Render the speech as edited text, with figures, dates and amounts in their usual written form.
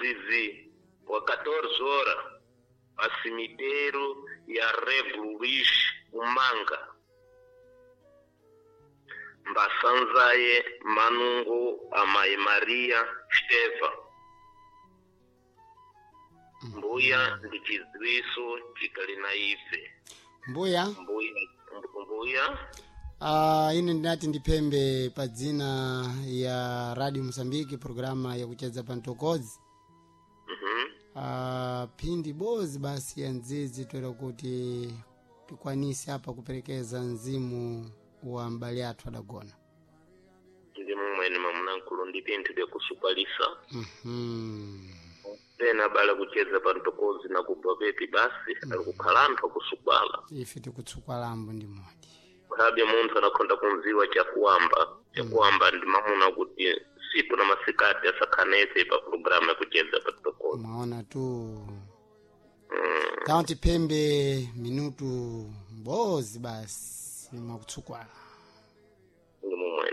Zizi wa 14 horas pa cemitério ya Rego Luís Umanga. Mbasanzaye Manungo Amai Maria Esteva. Mbuya ndi chidziwiso chikali na ife. Mbuya. Mbuya, mbuya. Ine ndinati ndiphembe pa dzina ya Radio Mosambiki, programa yakucheza pa mtokozi. Phindi bozi basi ya ndzidzi toera kuti tikwanise apa kuperekeza mzimu wa m'bale athu adagona. Ndi mumweni mamunankulu ndi pinthu byakusupalisa. Pena bala kucheza pa mtokozi na kubva pepi basi ali kukhala anthu akusupala. Ife tikutsukalambo ndi modi. Khabe munthu anakhonda kumziwa chakuwamba chakuwamba ndi mamuna kuti siku na masikati asakhanetse pa programu yakucheza pa mtokozi. Mwaona tu. Tawa tiphembe minutu mbozi basi mwakutsukwala. Ndi mumweni.